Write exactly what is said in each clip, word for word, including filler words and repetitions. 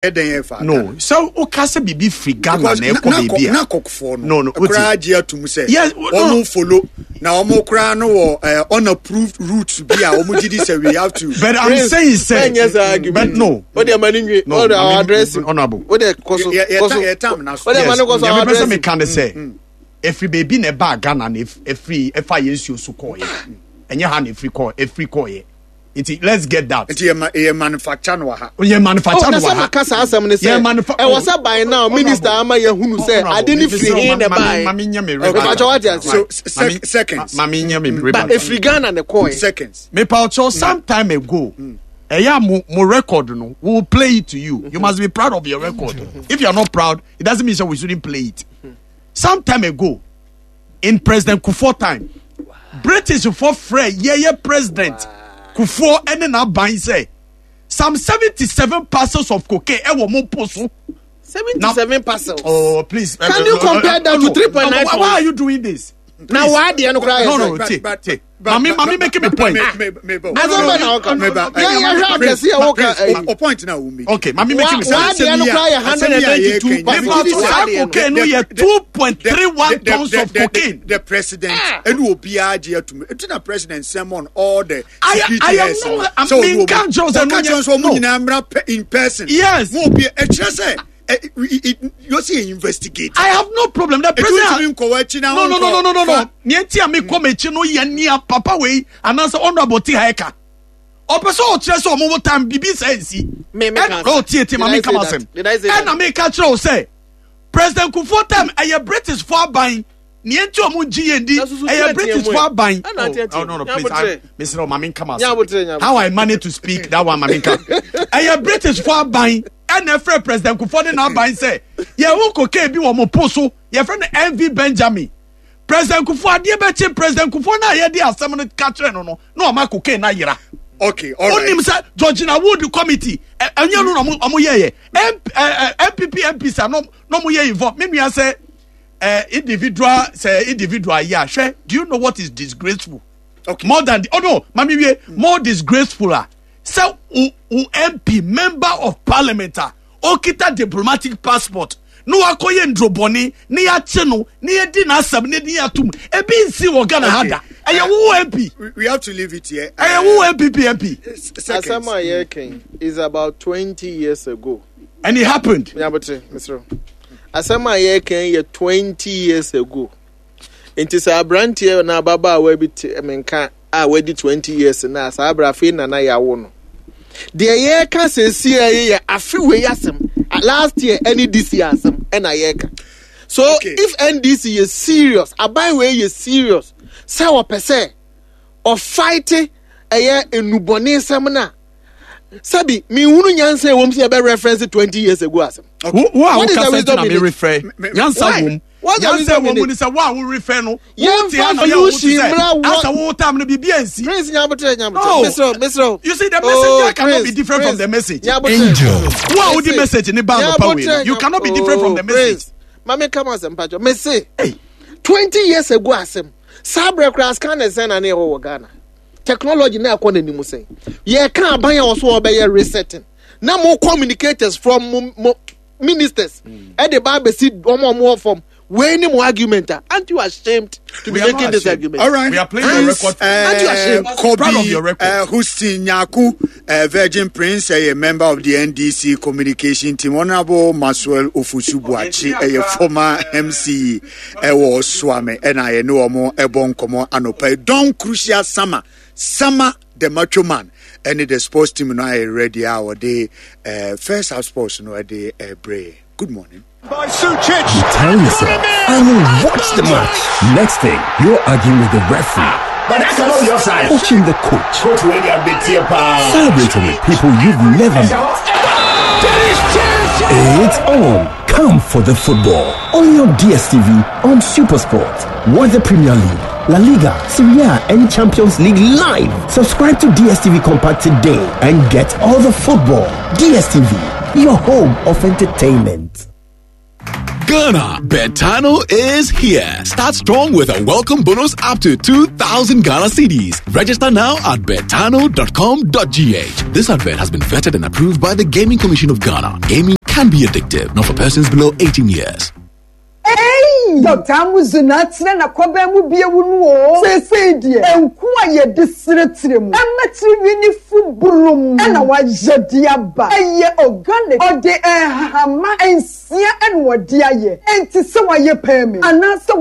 Ɛdɛn ɛfa? No, sɛ woka sɛ biribi firi Ghana na ɛkɔ baabi a na kɔkɔfoɔ no no no koraa gye atum sɛ Yes, no. wɔn follow na wɔn koraa no wɔ eh, unapproved routes bi a wɔn gyi di sɛ we have to. But I'm Prince, saying sɛ ɛnyɛ saa argument. But no. O de ma ni nwi. No, O de I mean, address. Honourable. O de kɔ so. Yɛ- yɛ- Kɔ so. yɛ tam na so. O de ma ni kɔ so Yes, our nyame pɛ sɛ address. meka ne sɛ ɛfiri baabi na ɛbaa Ghana na ɛf- ɛfiri ɛfa yɛn nsuo so kɔɔyɛ, ɛnyɛ ha na ɛfiri kɔɔ ɛfiri kɔɔyɛ, nti let's get that. Nti yɛ ma yɛ manufacture no wɔ ha. Yɛ manufacture Oh, no na wɔ sɛ ha. maka saa asɛm ne Yɛ sɛ manufa- ɛwɔ sɛ by now minister ama yɛhunu sɛ Honourable, ade ne mesrɛ firi wo, he na ma- ma- ɛbaeɛ. ma menyɛ me Okay. rebuttal. Mepakyɛ, wate ase? So Ma- sec- me- seconds. ma menyɛ me Ba rebuttal. efiri Ghana ne kɔɛ. Seconds. Mepakyɛw, some time ago, ɛyɛ a mo mo record no, we will play it to you. You must be proud of your record. If you are not proud, it doesn't mean that we shouldn't play it. Some time ago, in President Kufuor time, British foɔ frɛ yɛyɛ President Kufuor ɛne n'aban sɛ some seventy seven parcels of cocaine ɛwɔ mo po so. Seventy seven parcels. Oh, please. Can you compare that to three point nine Why, why tons? are you doing this? Na waa deɛ no koraa yɛ No, sɛ no, But- tie, but- tie. but- Mami, but- mami, making me but- point. me- me- me- Asɛm bɛ na ɔka. Me- ba- Yɛn yɛhwɛ Prince, akɛse a wɔka Prince, ɛyi. o point na wo make. Okay, mami, making me Wa- waa point. deɛ no koraa yɛ Asɛm yi a one hundred and ninety-two yɛka yi, parcels. Mepa Saa saa deɛ no. cocaine no yɛ two point three one tons of cocaine. The president ɛne obiara gye atum eti na President sermon all the I- security I am heads not- no. I'm Sɛ being ɔmo- conscious and ɔka no- kyerɛ sɛ ɔmo no. nyinaa mmra pe- in person. Yes. Mo obi ɛkyerɛ sɛ ɛ, i- i- yɔsi investigate. I have no problem. The Etu president. ntumi nkɔ w'akyi na No, no, no, no, no, no, no. fa- Nea nti a mekɔ m'akyi no yɛ nea papa wei anaasɛ Honourable te ha ɛka. Ɔpɛ sɛ ɔkyerɛ sɛ ɔmo wo time bibi sɛ nsi. Me- me Ɛna ka- oh, tie, tie, Did ma I me say ka that? m'asɛm. Did I say that? Ɛna meka kyerɛ wo sɛ President Kufuor time, ɛyɛ British fo aban. Nea nti ɔmo gye yɛn di Na susu ɛyɛ tie British tie fo mu ɛ. aban. Ɛna tie tie. Oh, no, no, please. Nyabotre. I- Mesrɛ wo, ma me nka m'asɛm. Nyabotre, nyabotre. How I manage to speak that one, ma me nka. Ɛyɛ British fo aban ɛna ɛfrɛ President Kufuor ne n'aban sɛ yɛho cocaine bi wɔ mo po so, yɛfrɛ no M V Benjamin. President Kufuor, adeɛ bɛkye President Kufuor na yɛde asɛm no ka kyerɛ no no na ɔma cocaine na yera. Okay, all right. Onim sɛ Georgina Wood committee ɛ- ɛnyɛ no na ɔmo ɔmo yɛyɛ M- ɛ- ɛ, N P P M Ps a na ɔmo yɛ involve. Me nua, sɛ ɛ individual, sɛ individual yɛ a, hwɛ, do you know what is disgraceful Okay. more than the, oh no, mami wie, more disgraceful a sɛ o o M P, member of parliament a okita diplomatic passport na wakɔyɛ ndurobɔni ne yɛakye no ne yɛdi n'asɛm ne ne yɛatum, ebi nsi wɔ Ghana ha da. Ɛyɛ wo M P. We, we have to leave it here. Ɛyɛ wo N P P M P. Seconds. Asɛm a yɛreka is about twenty years ago. And it happened. Nyabotre, mesrɛ. Asɛm a yɛreka yɛ twenty years ago. Nti sɛ aberanteɛ na ababaawa bi te menka a wadi twenty years na saa abere afei nana yɛawo no. Deɛ yɛreka seesie yi yɛ afe wei asɛm. Last year ɛne this year asɛm ɛna yɛreka. So Okay. if N D C yɛ serious, aban wei yɛ serious sɛ wɔpɛ sɛ ɔfight ɛyɛ enubɔne nsɛm na sɛbi mihunu nyansa ewom sɛ yɛbɛ reference twenty years ago asɛm. Wo wo a What is the woka sɛ wisdom na in me it? refer Me- me- nyansa Why? wom. What's the Nyansa wisdom wom in ni it? sɛ wo a wo refer no, Yɛmfa wo te ha na yɛ wo te solution sɛ mmra wɔ- asa wo time no biribi ansi. Prince, nyabotre, nyabotre. No. Mesrɛ, mesrɛ. You see, the messenger cannot be different from the message. Nyabotre. Wo a wodi message ni ba anɔpa wei no, you cannot be different from the message. Mame kama asɛm patwɔ. Mese Hey. twenty years ago asɛm. Saa berɛ koraa scan sɛn na ne ɛwɔ wɔ Ghana. Technology na ɛkɔ n'anim sɛn. Yɛka aban a wɔso wɔbɛyɛ resetting. Na mo communicators from mo, mo ministers ɛde ba abɛsi wɔn a wɔn wɔ fam. Wei ni mo argument a, aren't you ashamed to be We are making not this ashamed. argument? All right. We are playing your record. Aren't you ashamed? Kobe Proud of your record. uh, Hussein Nyaku, uh, Virgin Prince, a member of the N D C communication team. Honorable Maxwell Ofosu Buachi, a former M C, ɛwɔ Suame, ɛna yɛne wɔn ɛbɔ nkɔmɔ anɔpa. Don Crucial Summer, Summer the Macho Man, ɛne the sports team no ayɛ ready a wɔde uh, first half sports no ɛde ɛbrɛ. Good morning. By Sucic. You tell yourself, "I will watch the match." Next thing, you're arguing with the referee, But that cannot be offside. coaching the coach, Coach William Bitiapa. Celebrating with people you've never met. It's on. Come for the football. Only on D S T V on Supersport. Watch the Premier League, La Liga, Serie A, and Champions League live. Subscribe to D S T V Compact today and get all the football. D S T V, your home of entertainment. Ghana, Betano is here. Start strong with a welcome bonus up to two thousand Ghana cedis. Register now at betano dot com dot g h. This advert has been vetted and approved by the Gaming Commission of Ghana. Gaming can be addictive, not for persons below eighteen years. Hey, Doctor Amuzuna, na kobe mu bie wu no. Se se die. Enku aye de sretre mu. Ematri ni fuburum. E na wa yedi aba. Eye organic. Ode ehama ensia en wodi aye. Enti se wa ye pemi. Anase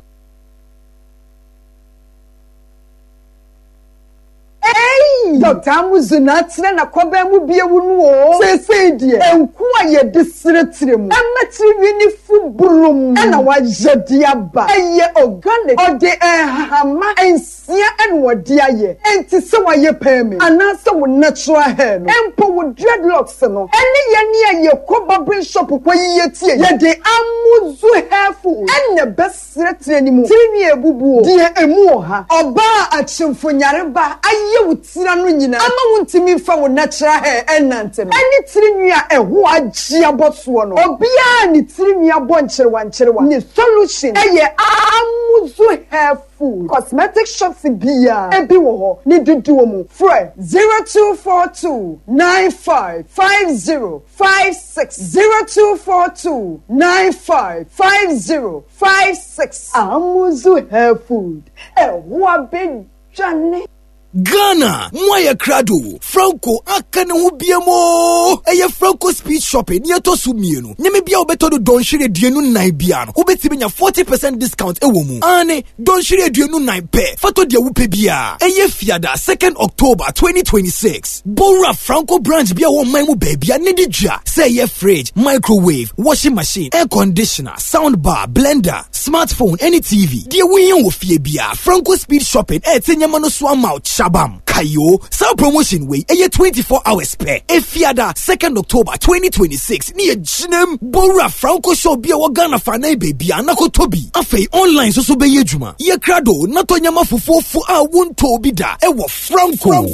Hey, Doctor Amuzuna, na kobe mu bie wu no. Se se die. Enku aye de sretre mu. Ematri ni fuburum. E na wa yedi aba. Eye organic. Ode ehama ensia en wodi aye. Enti se wa ye pemi. Anase wo natural hair no. Empo wo dreadlocks no. Ene ye ni aye ko barbering shop kwa yiye tie. Ye de Amuzu hair food. Ene besretre ni mu. Tiri ebubu. Die emu oha. Oba achimfo nyareba aye wo tira no nyina. Ama wo ntimi fa wo natural hair enante no. Ene tiri nwi a eho agye aboso no. Obia ni tiri nwi abo nkyerwa nkyerwa. Ni solution eye Amuzu hair food. Cosmetic shops bia ebi wo ho ni dudu mu. Frɛ zero two four two nine five five zero five six zero two four two nine five five zero five six. Amuzu hair food. Eho abedwane. Ghana, Mwaya Krado, Franco, Akane Hubiemo, Eye Franco Speed Shopping, near Tosumieno, Namibia Beto Don Shire Dienu nine biano, Ubetibina forty percent discount ewomu, Ane, Don Shire Dienu nine pe, Fato dia Wupebia, Eye Fiada, second October twenty twenty-six, Bora Franco branch bia wo maimu baby, Nidija, say ye fridge, microwave, washing machine, air conditioner, sound bar, blender, smartphone, any T V, dear William Wofiebia, Franco Speed Shopping, eh, Tenyamano Swam out. Shabam Kayo, some promotion way a twenty-four hours pair. Efiada, second October twenty twenty-six, near Jinem Bora Franco Show be our Ghana Fana baby Anako Toby. Afe online so so be yejuma. Ye krado, natonyama fufu fu a won tobi da. Ewa Franco.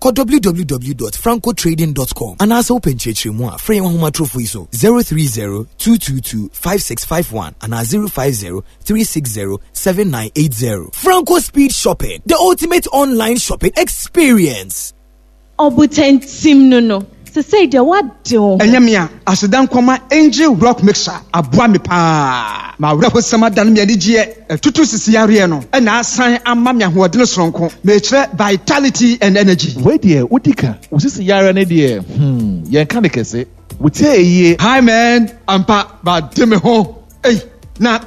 Ko w w w dot franco trading dot com. And as open church moi, frame home trophy so zero three zero two two two five six five one and zero five zero three six zero seven nine eight zero. Franco Speed Shopping, the ultimate online shopping experience. Obutentim no no. Se say de what do. Enyamia asedan koma Angel Rock Mixer aboa me pa. Ma wura hosama dan me anigye etutu sisi yare no. E na asan ama me ahoɔden soronko. Me kyerɛ vitality and energy. We de odika osisi yare ne de hmm yen ka ne kese. Wotie eyie. Hi man, ampa ba de me ho. Ei na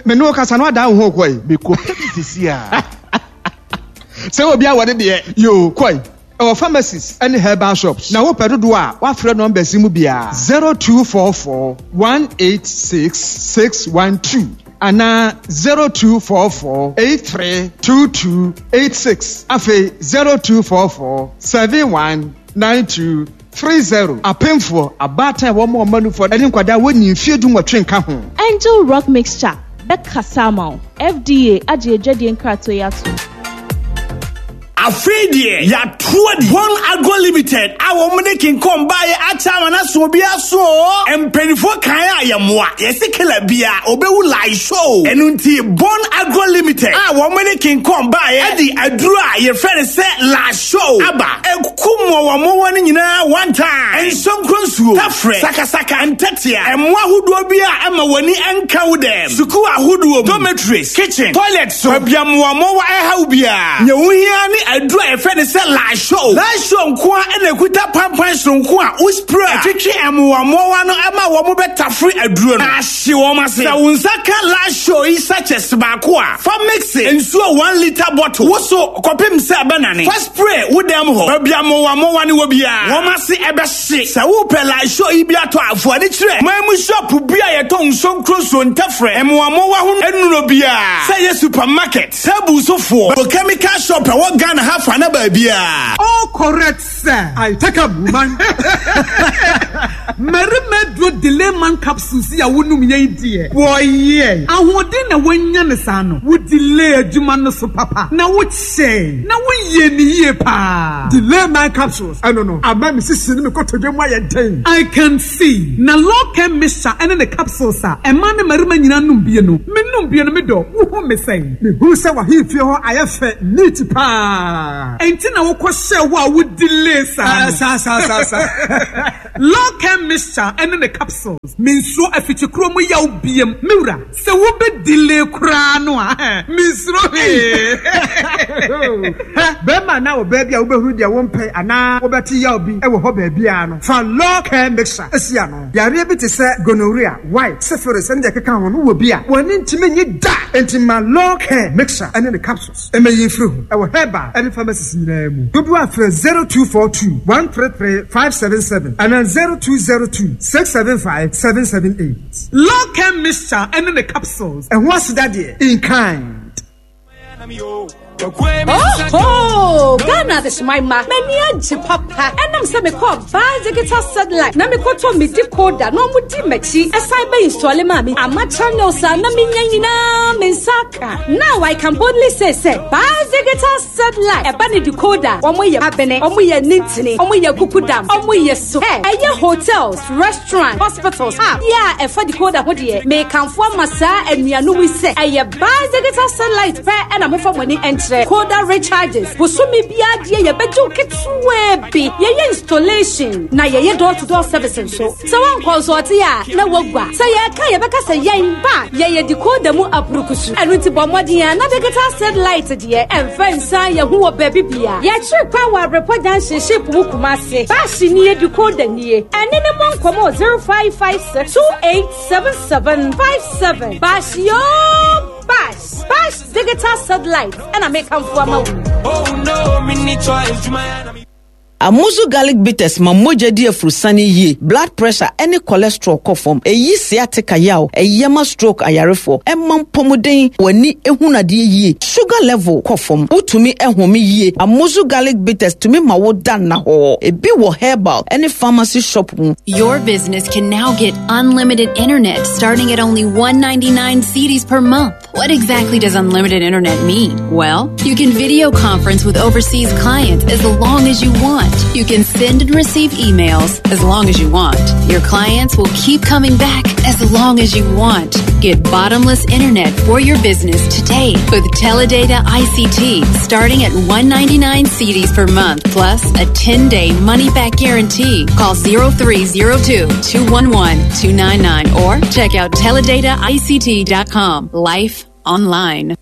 me no kasa no ada wo ho koi. Me ko sisi a. Say obi a wode de yo koi. Our pharmacies and herbal shops. Now, open do what friend number Simubia zero two four four one eight six six one two and zero two four four eight three two two eight six. Afe zero two four four seven one nine two three zero. A painful a bad time one more money for any quada when you fear do what drink. Angel Rock Mixture, Bekasamo, F D A, Aje Jedian Kratoyatu. Afidie ya tuodi One Agro Limited a wɔn King Kong bae acha na so obi aso mpanifo kan ayɛmoa yɛsi kela bia obewu live show ɛnu nti Born Agro Limited a wɔn King Kong bae ɛdi aduru a yɛfrɛ no sɛ live show aba ekum wɔn wɔn nyinaa one time nsonkron nsuo tafrɛ sakasaka ntɛtea ɛmoa ahodoɔ bi a ɛma wɔni ɛnka wo dɛm sukuu ahodoɔ dormitories kitchen toilet so abiamoa mɔwa ɛhaw bia nyɛ ni aduru a yɛfrɛ no sɛ live show live show nko a ɛna ekuta pampan sonko a uspray atwitwi ɛmoamoa no ɛma wɔn bɛtafere aduro no ahye wɔn ase sɛ wo nsa ka live show yi sachets baako a fa mix nsuo one litre bottle woso kɔpem sɛ ɛbɛnane fa spray wo dɛm hɔ baabi amoamoa ne wɔ biara wɔn ase ɛbɛhye sɛ wopɛ live show yi bi atɔ afoɔ de kyerɛ man mu shop bi a yɛtɔ nsonkuro so ntɛfrɛ ɛmoamoa ho nnuro biara sɛ yɛ supermarket table sofoɔ chemical shop ɛwɔ Ghana Ghana ha fa na baabia. All correct, sir. I take up woman. Mmarima duro delay man capsules yi a wonum yɛn deɛ wɔyɛ ahoɔden na wɔanya ne saa no wo delay adwuma no so papa na wokyɛn na woyɛ ne yie paa. Delay man capsules ɛno no ama me sisi ne me kotodwe mu ayɛ den. I can see na law care mixture ɛne ne capsules a ɛma ne mmarima nyinaa nom bie no me nom bie no me dɔ wohu me sɛn. Mehuru sɛ wahemfie hɔ ayɛ fɛ neat paa. Ɛnti na wokɔhyɛ hɔ a wo delay saa no. Saa saa saa saa. Law care mixture ɛne ne capsules me nsuo afikyikuro mu yaw biem mewura sɛ wobɛ delay koraa no a mensuro hwee. Bɛrima na ɔbaa bi a wobɛhunu deɛ wompɛ anaa wobɛte yaw bi wɔ hɔ baabiara no fa law care mixture asi ano. Yareɛ bi te sɛ gonorrhea, white, syphilis ɛne deɛ ɛkeka ho no wɔ bi a wɔne ntumi nye da. Enti ma law care mixture ɛne ne capsules ɛmɛyi mfiri ho ɛwɔ herbal ɛne pharmacies nyinaa mu. Dodoɔ afrɛ zero two four two one three three five seven seven ɛna zero two zero two six seven five seven seven eight. Law care mixture ɛne ne capsules. Ɛho aseda deɛ in kind. Oh, Ghana de my ma. M'ani agye papa. Ɛnam sɛ mekɔɔ Baa Digital Satellite na mekɔtɔ me decoder na ɔmo di m'akyi. Ɛsan bɛ install ma me. Ama channels a na menya nyinaa me nsa aka. Now I can boldly say sɛ Baa Digital Satellite ɛba ne decoder. Ɔmo yɛ abene, ɔmo yɛ nintini, ɔmo yɛ kukudam, ɔmo yɛ so. Hey, ɛyɛ hotels, restaurant, hospitals. Ah, yeah, ɛfa decoder ho deɛ. Mekamfo ama saa anuanom yi sɛ ɛyɛ Baa Digital Satellite pɛ ɛna mofa mo ani ɛnkyerɛ. Decoder recharges. Bosome biara deɛ yɛbɛgye wo ketewaa bi. Yɛyɛ installation na yɛyɛ door to door service nso. Sɛ woankɔ nso ɔte a na woagua. Sɛ yɛka yɛbɛka sɛ yɛn ba yɛyɛ decoder mu apurukusu. Ɛno nti bɔ mmɔden a na digital satellite deɛ ɛmfa nsan yɛn ho wɔ baabi bia. Yɛkyere kwan wɔ Abrepɔ Junction ship mu Kumase. Baahye nie decoder nie. Ɛne ne mmɔ nkɔmmɔ zero five five six two eight seven seven five seven. Baahye yoo Bash Bash digital satellite ɛna mekamfo ama wo. Oh no, me need choice. Amuzu garlic bitters ma mogya di afurusane yie, blood pressure ɛne cholesterol kɔ fam, ɛyi sciatica yaw, ɛyɛ ma stroke ayarefoɔ, ɛma mpɔmuden w'ani ehunadeɛ yie, sugar level kɔ fam, wotumi ɛhome yie. Amuzu garlic bitters tumi ma wo da nna hɔ. Ebi wɔ herbal ɛne pharmacy shop mu. Your business can now get unlimited internet starting at only one ninety-nine cedis per month. What exactly does unlimited internet mean? Well, you can video conference with overseas clients as long as you want. You can send and receive emails as long as you want. Your clients will keep coming back as long as you want. Get bottomless internet for your business today with Teledata I C T starting at one ninety-nine cedis per month plus a ten-day money-back guarantee. Call zero three zero two, two one one, two nine nine or check out teledata I C T dot com. Life online.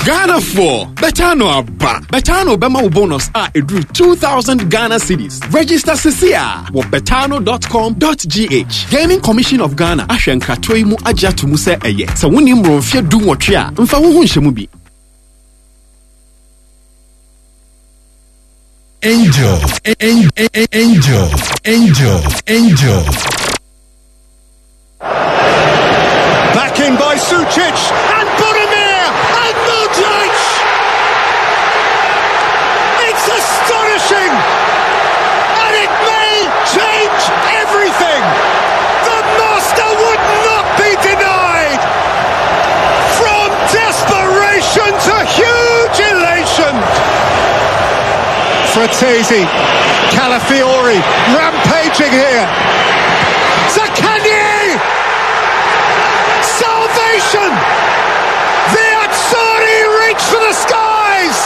Ghana four Betano Abba Betano Bema bonus a edru two thousand Ghana cedis. Register sisia wo betano dot com dot g h. Gaming Commission of Ghana ahwe nkratoi mu agya to mu se eye. Se woni mronfie du nwotwe a mfa wo ho nhye mu bi. Angel, angel, angel, angel. Back in by Sucic and Budimir and Modric. It's astonishing, and it may change everything. The master would not be denied. From desperation to huge elation. Frattesi, Calafiori rampaging here. Zaccagni! Salvation! The Azzurri reach for the skies!